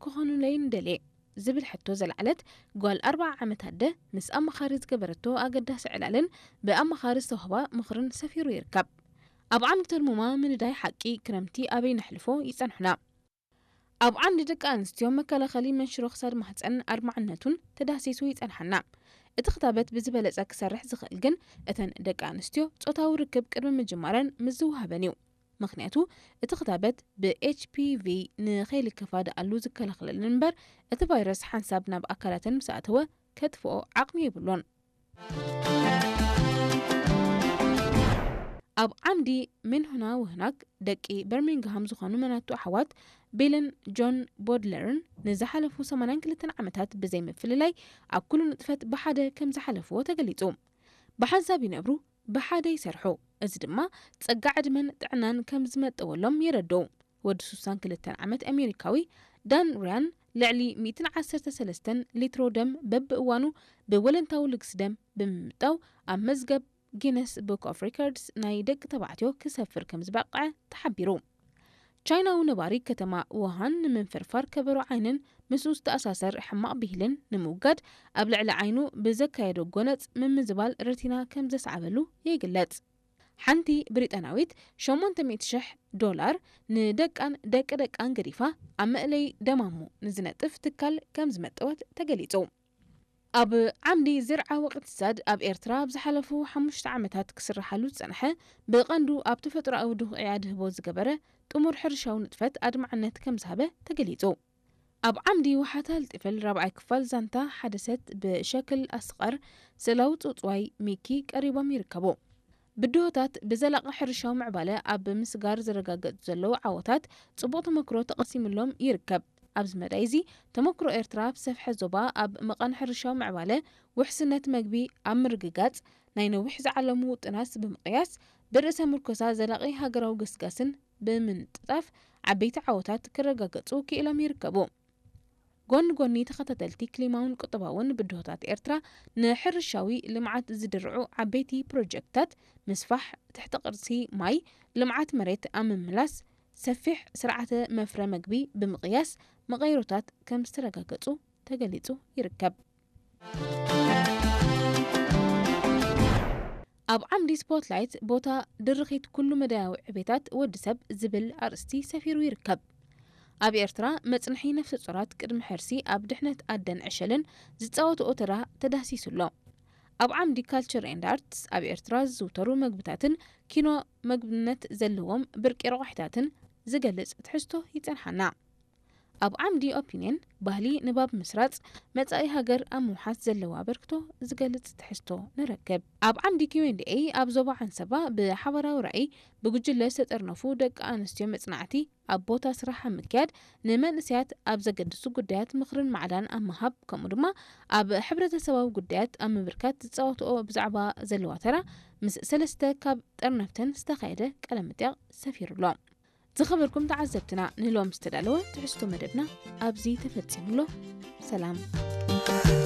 ክኾኑለይ ንደልየ ዝብል ሕቶ ዘልዓለት ጓል ኣርብዓ ዓመት ኣደ፣ ምስ ኣማኻሪ ዝገበረቶ ኣገዳሲ ዕላልን ብኣማኻሪ ዝተዋህባ ምኽርን ሰፊሩ ይርከብ። ኣብ ዓምዲ ተርሙማ ምንዳይ ሓቂ ክረምቲ ኣበይ ነሕልፎ ይጸንሑና። ኣብ ዓምዲ ደቂ ኣንስትዮ መከላኸሊ መንሽሮ ክሳድ ማህጸን ኣድማዕነቱን ተዳህሲሱ ይጸንሓና። እቲ ክታበት ብዝበለጸ ክሰርሕ ዝኽእል ግን እተን ደቂ ኣንስትዮ ጾታዊ ርክብ ቅድሚ ምጅማረን ምስ ዝወሃበን እዩ። ምኽንያቱ እቲ ክታበት ብ ኤች ፒ ቪ ንኸይልከፋ ደኣሉ ዝከላኸለለን እምበር እቲ ቫይረስ ሓንሳብ ናብ ኣካላተን ምስ ኣተወ ከጥፍኦ ዓቕሚ የብሉን። ኣብ ዓምዲ ሜንሁና ወህናግ ደቂ በርሚንግሃም ዝኾኑ መናቱ ኣሕዋት ቤልን ጆን ቦድለርን ንዝሓለፉ ሰማንያን ክልተን ዓመታት ብዘይ ምፍልላይ ኣብ ኩሉ ንጥፈት ብሓደ ከም ዝሓለፍዎ ተገሊጹ። ብሓንሳብ ይነብሩ፣ ብሓደ ይሰርሑ። እዚ ድማ ጸጋ ዕድመን ጥዕናን ከም ዝመጠወሎም የረድኡ። ወዲ ስሳን ክልተን ዓመት ኣሜሪካዊ ዳን ሪያን ልዕሊ ሚእትን ዓሰርተ ሰለስተን ሊትሮ ደም በብእዋኑ ብወለንታዊ ልግሲ ደም ብምምጣው ኣብ መዝገብ ጊነስ ቡክ ኦፍ ሪከርድስ ናይ ደቂ ተባዕትዮ ክሰፍር ከም ዝበቕዐ ተሓቢሩ። ቻይናዊ ነባሪ ከተማ ውሃን ንምንፍርፋር ከበሮ ዓይንን ምስኡ ዝተኣሳሰር ሕማቕ ብሂልን ንምውጋድ ኣብ ልዕሊ ዓይኑ ብዘካየዶ ጎነጽ ምምዝባል ረቲና ከም ዘስዓበሉ ይግለጽ። ሓንቲ ብሪጣናዊት ሸሞንተ ሚእቲ ሽሕ ዶላር ንደቃን ደቂ ደቃን ገዲፋ ኣብ መእለይ ደማሙ ንዝነጥፍ ትካል ከም ዝመጠወት ተገሊጹ። ኣብ ዓምዲ ዝርዓ ወቕትሳድ ኣብ ኤርትራ ኣብ ዝሓለፉ ሓሙሽተ ዓመታት ክስርሓሉ ዝጸንሐ፣ ብቐንዱ ኣብ ተፈጥሮኣዊ ድኹዒ ኣድህቦ ዝገበረ ጥሙር ሕርሻዊ ንጥፈት ኣድማዕነት ከም ዝሃበ ተገሊጹ። ኣብ ዓምዲ ውሓታ ልጥፍል ራብዓይ ክፋል ዛንታ ሓደሰት ብሸክል ኣስቐር ስእላዊ ጽውጽዋይ ሚኪ ቀሪቦም ይርከቡ። ብድሆታት ብዘላቒ ሕርሻዊ ምዕባለ ኣብ ምስጋር ዝረጋገጹ ዘለዉ ዓወታት ጽቡቕ ተመክሮ ተቐሲምሎም ይርከብ። ኣብዚ መዳይ እዚ ተመክሮ ኤርትራ ኣብ ሰፍሐ ዞባ ኣብ መቓን ሕርሻዊ ምዕባለ ውሕስነት መግቢ ኣብ ምርግጋጽ ናይ ነዊሕ ዝዓለሙ ውጥናት ብምቕያስ ብርእሰ ምርኮሳ ዘላቒ ሃገራዊ ገስጋስን ብምንጥጣፍ ዓበይቲ ዓወታት ክረጋገጹ ክኢሎም ይርከቡ። ጎኒ ጎኒ ተኸታተልቲ ክሊማውን ቁጠባውን ብድሆታት ኤርትራ ንሕርሻዊ ልምዓት ዝድርዑ ዓበይቲ ፕሮጀክትታት ምስፋሕ ትሕቲ ቅርሲ ማይ፣ ልምዓት መሬት ኣብ ምምላስ፣ ሰፊሕ ስርዓተ መፍረ መግቢ ብምቕያስ መቐይሮታት ከም ዝተረጋገጹ ተገሊጹ ይርከብ። ኣብ ዓምዲ ስፖትላይት ቦታ ድርኺት ኩሉ መዳያዊ ዕቤታት ወዲ ሰብ ዝብል ኣርእስቲ ሰፊሩ ይርከብ። ኣብ ኤርትራ መጽንሒ ነፍሰ ጾራት ቅድሚ ሕርሲ ኣብ ድሕነት ኣደን ዕሸልን ዝጻወትኦ ተራ ተዳህሲሱ ኣሎ። ኣብ ዓምዲ ካልቸር ኤንድ ኣርትስ ኣብ ኤርትራ ዝዝውተሩ መግብታትን ኪኖ መግብነት ዘለዎም ብርቂ ረቋሒታትን ዝገልጽ ትሕዝቶ ይጸንሓና። ኣብ ዓምዲ ኦፒንየን ባህሊ ንባብ ምስራጽ መጻኢ ሃገር ኣብ ምውሓስ ዘለዎ ኣበርክቶ ዝገልጽ ትሕዝቶ ንረክብ። ኣብ ዓምዲ ኪው ኤንድ ኤ ኣብ ዞባ ዓንሰባ ብሓባራዊ ራእይ ብጉጅለ ዝተጠርነፉ ደቂ ኣንስትዮ መጽናዕቲ ኣብ ቦታ ስራሕ ኣብ ምክያድ ንመንእሰያት ኣብ ዘገድሱ ጉዳያት ምኽርን ማዕዳን ኣብ ምሃብ ከምኡ ድማ ኣብ ሕብረተሰባዊ ጉዳያት ኣብ ምብርካት ዝጻወትኦ ብዛዕባ ዘለዋ ተራ ምስ ሰለስተ ካብ ጠርነፍተን ዝተኻየደ ቃለ መጠይቕ ሰፊሩ ኣሎ። ዝኸበርኩም ተዓዘብትና ንሎም ዝተዳለወ ትሕዝቶ መደብና ኣብዚ ተፈጺሙ ኣሎ። ሰላም።